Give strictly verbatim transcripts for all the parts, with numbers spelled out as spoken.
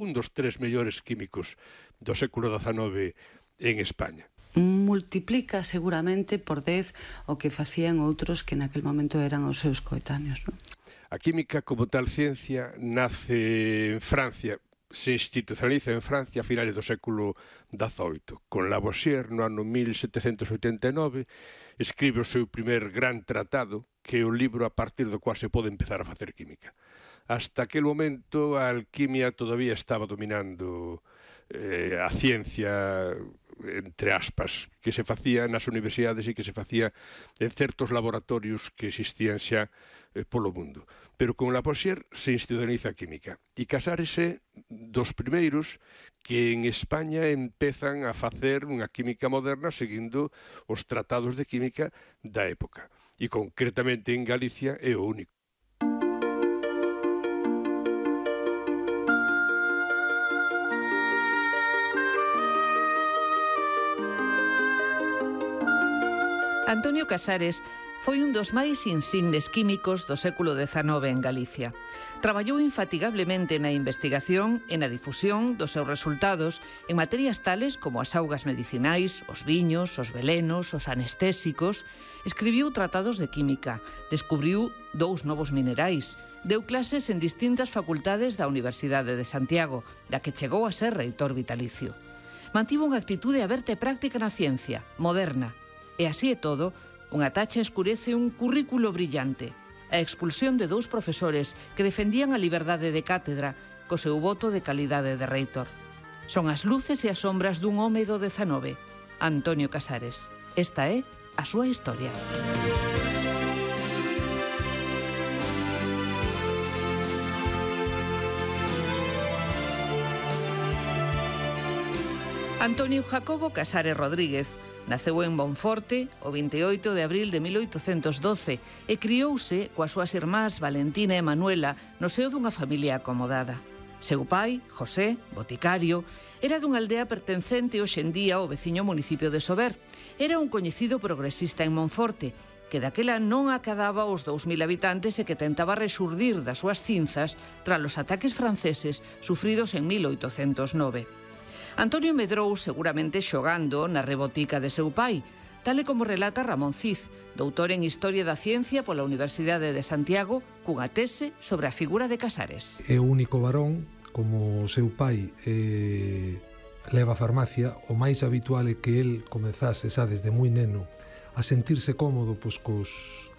un dos tres mellores químicos do século dezanove en España. Multiplica seguramente por dez o que facían outros que naquel momento eran os seus coetáneos, non? A química como tal ciencia nace en Francia, se institucionaliza en Francia a finales do século dezoito. Con Lavoisier, no ano mil setecentos oitenta e nove, escribe o seu primer gran tratado, que é o libro a partir do cual se pode empezar a facer química. Hasta aquel momento a alquimia todavía estaba dominando eh, a ciencia, entre aspas, que se facía nas universidades e que se facía en certos laboratorios que existían xa eh, polo mundo. Pero con Lavoisier se institucionaliza a química. E Casares é dos primeiros que en España empezan a facer unha química moderna seguindo os tratados de química da época. E concretamente en Galicia é o único. Antonio Casares foi un dos máis insignes químicos do século dezanove en Galicia. Traballou infatigablemente na investigación e na difusión dos seus resultados en materias tales como as augas medicinais, os viños, os velenos, os anestésicos. Escribiu tratados de química, descubriu dous novos minerais, deu clases en distintas facultades da Universidade de Santiago, da que chegou a ser reitor vitalicio. Mantivo unha actitude aberta e práctica na ciencia, moderna. E así é todo, unha tacha escurece un currículo brillante. A expulsión de dous profesores que defendían a liberdade de cátedra co seu voto de calidade de reitor. Son as luces e as sombras dun home do dezanove, Antonio Casares. Esta é a súa historia. Antonio Jacobo Casares Rodríguez naceu en Monforte o vinte e oito de abril de mil oitocentos doce e criouse coas súas irmás Valentina e Manuela no seo dunha familia acomodada. Seu pai, José, boticario, era dunha aldea pertencente hoxe en día ao veciño municipio de Sober. Era un coñecido progresista en Monforte, que daquela non acadaba os dous mil habitantes e que tentaba rexurdir das súas cinzas tras os ataques franceses sufridos en mil oitocentos nove. Antonio medrou seguramente xogando na rebotica de seu pai, tal e como relata Ramón Cid, doutor en Historia da Ciencia pola Universidade de Santiago, cunha tese sobre a figura de Casares. É o único varón, como o seu pai eh, leva a farmacia, o máis habitual é que el comezase xa desde moi neno a sentirse cómodo pois, cos,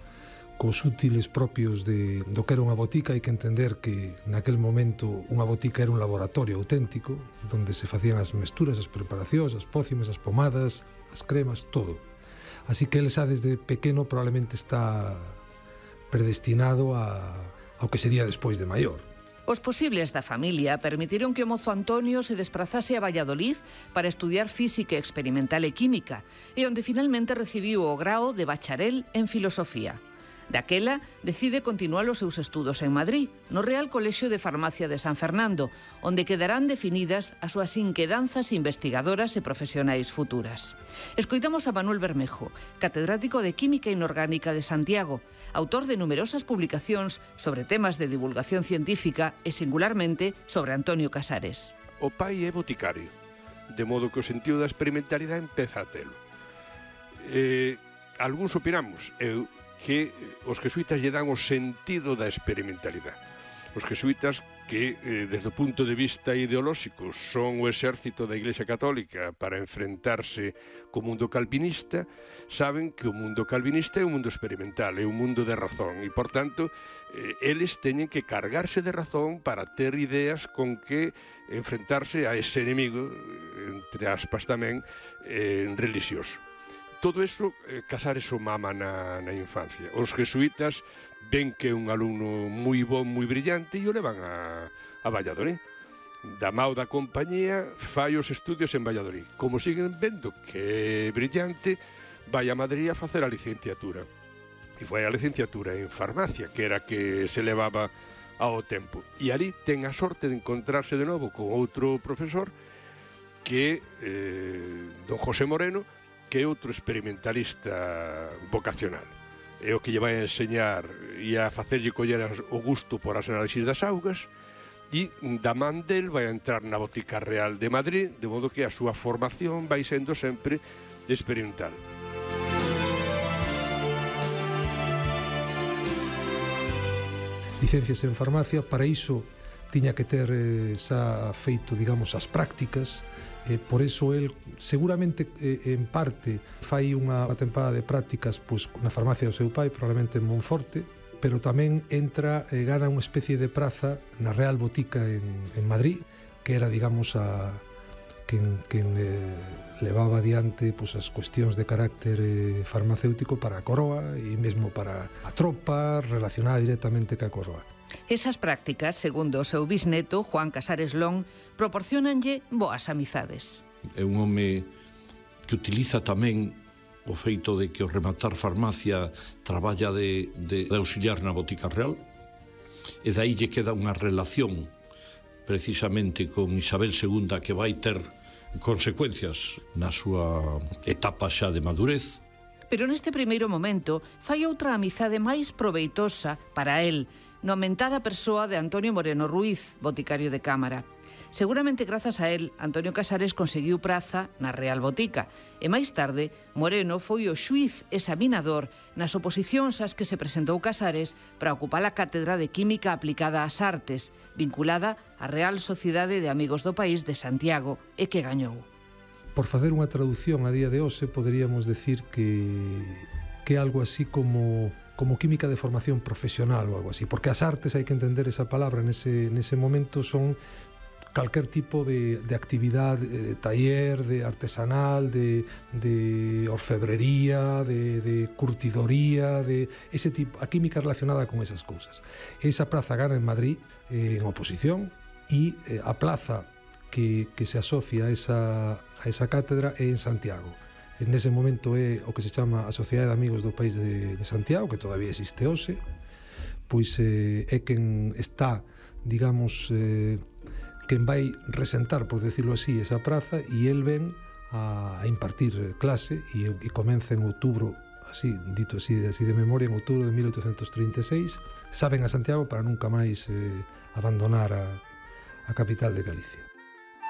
cos útiles propios de, do que era unha botica. Hai que entender que naquel momento unha botica era un laboratorio auténtico donde se facían as mesturas, as preparacións, as pócimas, as pomadas, as cremas, todo. Así que ele xa desde pequeno probablemente está predestinado a, ao que sería despois de maior. Os posibles da familia permitiron que o mozo Antonio se desprazase a Valladolid para estudiar física experimental e química e onde finalmente recibiu o grao de bacharel en filosofía. Daquela, decide continuar os seus estudos en Madrid, no Real Colexio de Farmacia de San Fernando, onde quedarán definidas as súas inquedanzas investigadoras e profesionais futuras. Escoitamos a Manuel Bermejo, catedrático de Química Inorgánica de Santiago, autor de numerosas publicacións sobre temas de divulgación científica e singularmente sobre Antonio Casares. O pai é boticario, de modo que o sentido da experimentalidade empeza a telo. Eh, algúns opinamos, eu que os jesuítas lle dan o sentido da experimentalidade. Os jesuítas que, eh, desde o punto de vista ideolóxico, son o exército da Iglesia Católica para enfrentarse co mundo calvinista, saben que o mundo calvinista é un mundo experimental, é un mundo de razón, e, por tanto, eh, eles teñen que cargarse de razón para ter ideas con que enfrentarse a ese enemigo, entre aspas tamén, eh, religioso. Todo eso, eh, Casares o mama na, na infancia. Os jesuítas ven que é un alumno moi bon, moi brillante e o levan a, a Valladolid. Da mao da compañía fai os estudios en Valladolid. Como siguen vendo que é brillante, vai a Madrid a facer a licenciatura. E foi a licenciatura en farmacia, que era que se levaba ao tempo. E ali ten a sorte de encontrarse de novo con outro profesor que eh, don José Moreno, que é outro experimentalista vocacional. É o que lle vai a enseñar e a facerlle coller o gusto por as análisis das augas e da man del vai a entrar na Botica Real de Madrid, de modo que a súa formación vai sendo sempre experimental. Licencias en farmacia, para iso tiña que ter eh, xa feito, digamos, as prácticas. Eh, por eso el seguramente eh, en parte fai unha tempada de prácticas pois, na farmacia do seu pai, probablemente en Monforte, pero tamén entra, eh, gana unha especie de praza na Real Botica en, en Madrid, que era, digamos, a quen, quen eh, levaba adiante pois, as cuestións de carácter eh, farmacéutico para a coroa e mesmo para a tropa relacionada directamente ca coroa. Esas prácticas, segundo o seu bisneto, Juan Casares Lón, proporcionanlle boas amizades. É un home que utiliza tamén o feito de que o rematar farmacia traballa de, de, de auxiliar na Botica Real, e dai lle queda unha relación precisamente con Isabel segunda que vai ter consecuencias na súa etapa xa de madurez. Pero neste primeiro momento fai outra amizade máis proveitosa para el, no aumentada persoa de Antonio Moreno Ruiz, boticario de Cámara. Seguramente grazas a él, Antonio Casares conseguiu praza na Real Botica e máis tarde Moreno foi o xuíz examinador nas oposicións ás que se presentou Casares para ocupar a cátedra de Química aplicada ás artes, vinculada á Real Sociedade de Amigos do País de Santiago, e que gañou. Por facer unha traducción a día de hoxe, poderíamos decir que que é algo así como como química de formación profesional ou algo así, porque as artes, hai que entender esa palabra nese, nese momento, son calquer tipo de, de actividade, de taller, de artesanal, de, de orfebrería, de, de curtidoría, de ese tipo, a química relacionada con esas cousas. Esa praza gana en Madrid, eh, en oposición, e eh, a plaza que, que se asocia a esa, a esa cátedra é en Santiago. En ese momento é o que se chama a Sociedade de Amigos do País de, de Santiago, que todavía existe hoxe, pois eh, é quen está, digamos, eh, quen vai resentar, por decirlo así, esa praza, e el ven a, a impartir clase, e, e comeza en outubro, así, dito así, así de memoria, en outubro de mil oitocentos trinta e seis, saben a Santiago para nunca máis eh, abandonar a, a capital de Galicia.